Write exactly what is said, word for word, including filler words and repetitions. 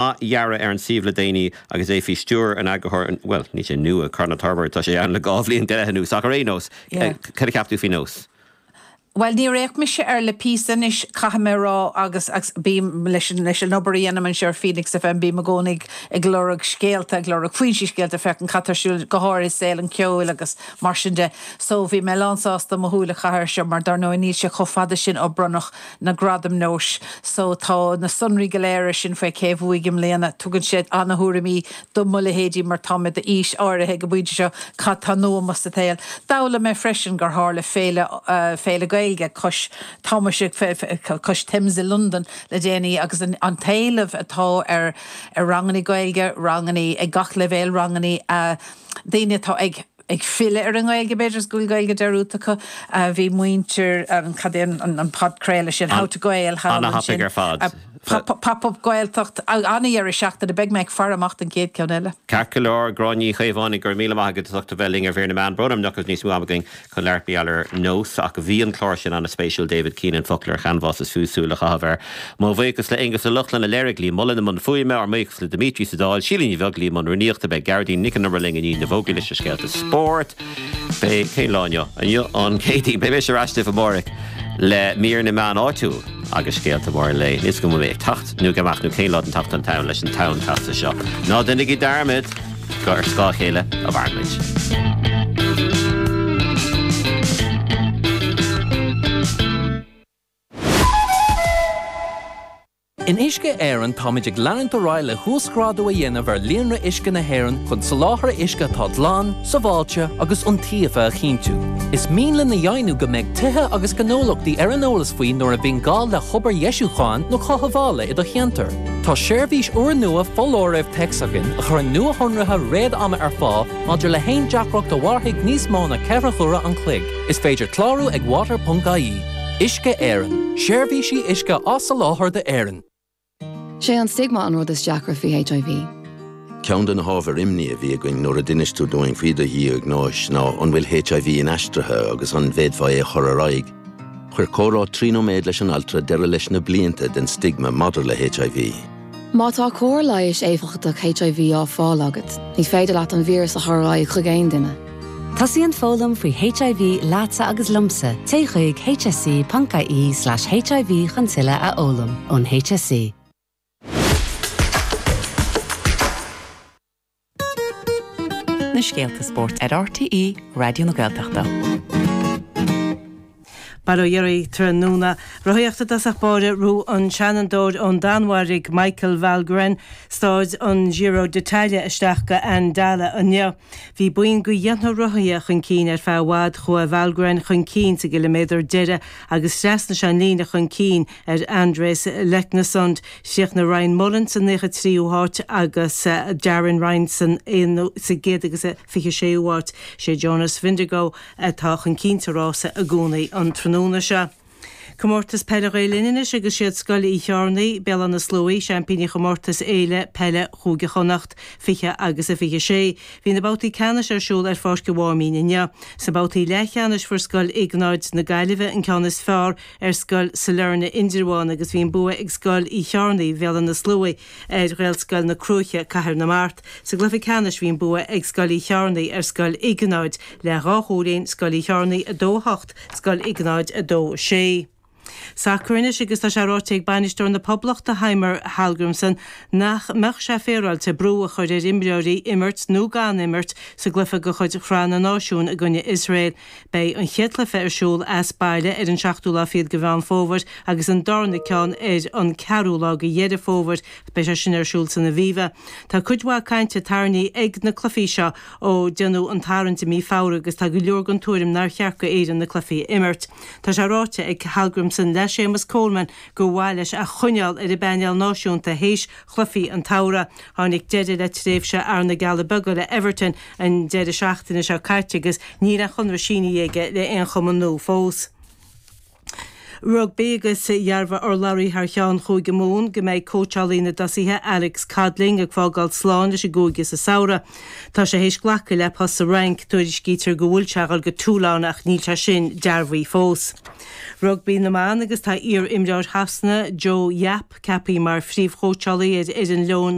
dhearadh ar an suíomh le déanaí agus é faoi stiúir an eagarthóir well ní sé nua Conor Torbert tá sé ann le dhá bhliain go leith anuas ach ar aon nós cad a cheap tú faoi nós. Well níor fhéach mise ar le píosa anois caithfidh mé rá agus agus bím leis an leis an obair a dhéanaim anseo ar Phoenix FM bím i gcónaí ag lorg scéalta ag lorg foinsí scéalta féachaint cad tá ar siúl go háirithe saol an cheoil agus mar sin de. So bhí mé lánsásta mo shúil a chaitheamh air seo mar dar ndóigh níl sé chomh fada sin ó bronnadh na gradaim nóis so tá na sonraí go léir sin faoi cé bhuaigh i mbliana tugann sé an-thuairimí do mo leithéidí mar tá mé d'aois áirithe go bpointe seo cad tá nua sa tsaol. D'fhoghlaim mé freisin gur tharla féile uh, féile Gaeilge cois Tá cois Thames i London le déanaí agus an, an t-éileamh atá ar ar ranganna Gaeilge, ranganna ag gach leibhéal ranganna uh, daoine atá ag ag filleadh ar an nGaeilge b'fhéidir go bhfuil Gaeilge dearmadta acu bhí muintir cad é an, an podchraoladh sin How to Gael An-thapaidh ar fad. Pop-up Gaeltacht an-deireadh seachtaine beidh mé ag faire amach an chéad ceann eile. Ceart go leor Gráinne Ní Chaomhánaigh gur míle maith agat as ucht a bheith linn ar Mhír na Meán brón orm nach níos mó againn chun labhairt ar nós ach bhí an clár sin an-spéisiúil David Keenan foclóir chanbhás is fiú súil a chaitheamh air. Mo bhuíochas le Aonghus Ó Lochlainn a léirigh lí Mullen i mbun fuaime ár mbuíochas le Dimitri Sadal, Sílíní bheag lí mun runíochta be Gardín Nic an ling in na bhógaí leis scéalta spórt. Bé cén lá inniu inniu an Chéadaoin beidh mise ar ais amárach le mír na meán áitiúil agus scéalta mór le níos go mé ag tacht nó amach nó cén lá an tseachtain atá leis an tonn casta seo. Ná déanaigí dearmad gur ar scáth a chéile a mhaireann muid. In Uisce Éireann táimid ag leanúint ar aghaidh le huasghrádú a dhéanamh ar líonra uisce na hÉireann chun soláthar uisce atá glan, sábháilte agus iontaofa a chinntiú. Is mian linn a dheimhniú go mbeidh tithe agus gnólachtaí ar an eolas faoi nuair a bhíonn gá le hobair dheisiúcháin nó cothabhála i do cheantar. Tá seirbhís úrnua foláirimh téacs againn a chuireann nuashonruithe réad-ama ar fáil maidir le haon deacracht a mhairfidh níos mó ná ceithre huaire an chloig. Is féidir clárú ag water.ie. Uisce Éireann, seirbhísí uisce á soláthar d'Éirinn. Sé an stigma an rud is deacra faoi HIV. Ceann de na hábhair imní a bhí againn nuair a d'inis tú dúinn faoi do dhiagnóis ná an bhfuil HIV inaistrithe agus an bhféadfaí é a chur ar aghaidh. Chuir comhrá trí nóiméad leis an altra deireadh leis na blianta den stigma maidir le HIV. Má tá cóir leighis éifeachtach HIV á fáil agat, ní féidir leat an víreas a chur ar aghaidh chuig aon duine. Tosaíonn foghlaim faoi HIV leatsa agus liomsa, téigh chuig hse.ie slash HIV chun tuilleadh a fhoghlaim ón HSE. Na scéalta spóirt ar RTÉ Raidió na Gaeltachta. Bail ó Dhia oraibh tráthnóna. Rothaíocht i dtosach báire ghnóthaigh an seanadóir ón Danmhairg Michael Valgren staid an Giro d'Italia isteach go Andalo inniu. Bhí buíon de dheich rothaithe chun cinn ar feadh i bhfad chuaigh Valgren chun cinn sa gciliméadar deiridh agus thrasnaigh sé an líne chun cinn ar Andreas Leknessund Chríochnaigh Ryan Mullen sa naocha tríú háit agus Darren Ryan san sa gcéad agus a fiche séú háit sé Jonas Vingegaard atá chun cinn sa rása i gcónaí an tráthnóna seo. Comórtas Peile Ghael Linn anois agus siad Scoil Uí Chearnaigh, Béal Átha na Sluaighe, seaimpíní chomórtas Fhéile Peile Chúige Chonnacht fiche agus a fiche sé. Bhí na babhtaí ceannais ar siúl ar Pháirc an Mháimín inniu. Sa babhtaí leathcheannais fuair Scoil Iognáid na Gaillimhe an ceann is fearr ar Scoil Sailearna Indreabhán agus bhí an bua ag Scoil Uí Chearnaigh, Béal Átha na Sluaighe ar Ghaelscoil na Cruaiche, Cathair na Mart. Sa gcluiche ceannais bhí an bua ag Scoil Uí Chearnaigh ar Scoil Iognáid le dhá chúilín, Scoil Uí Chearnaigh a dó a hocht, Scoil Iognáid a dó a sé. Sacar anois agus tá sé ráite ag bainisteoir na Poblachta Heimir Hallgrímsson nach mbeadh sé féaráilte brú a chur ar imreoirí imirt nó gan imirt sa gcluiche de chuid Shraith na Náisiún i gcoinne Iosrael. Beidh an chéad chluiche ar siúl as baile ar an seachtú lá fichead de Mheán Fómhair agus an darna ceann ar an ceathrú lá de Dheireadh Fómhair. Beidh sé sin ar siúl san Aviva. Tá cuid mhaith cainte tarraingthe ag na cluichí seo ó déanadh an tarraingt i mí Feabhra agus tá go leor den tuairim nár cheart go Éirinn na cluichí a imirt. Tá sé ráite ag Hallgrímsson le Séamus Coleman gur mhaith leis a choinneáil ar an bpainéal náisiúnta théis chluichí an tsamhraidh. Tháinig deireadh le tréimhse fhear na gCealla Beaga le Everton an deireadh seachtaine seo caite agus níl aon chonradh sínithe aige le aon chumann nua fós. Rugbaí agus dhearbhaigh urlabhraí thar cheann Chúige Mumhan go mbeidh cóitseálaí na dtosaithe Alex Codling ag fágáil slán leis an gcúige sa samhradh. Tá sé théis glacadh le post sa Fhrainc, tuairiscítear go bhfuil sé ag dul go Toulon ach níl sé sin dearbhaithe fós. Rugbaí na mban agus tá iar-imreoir Shasana Jo Yapp ceaptha mar phríomhchóitseálaí ar fhoireann Leoin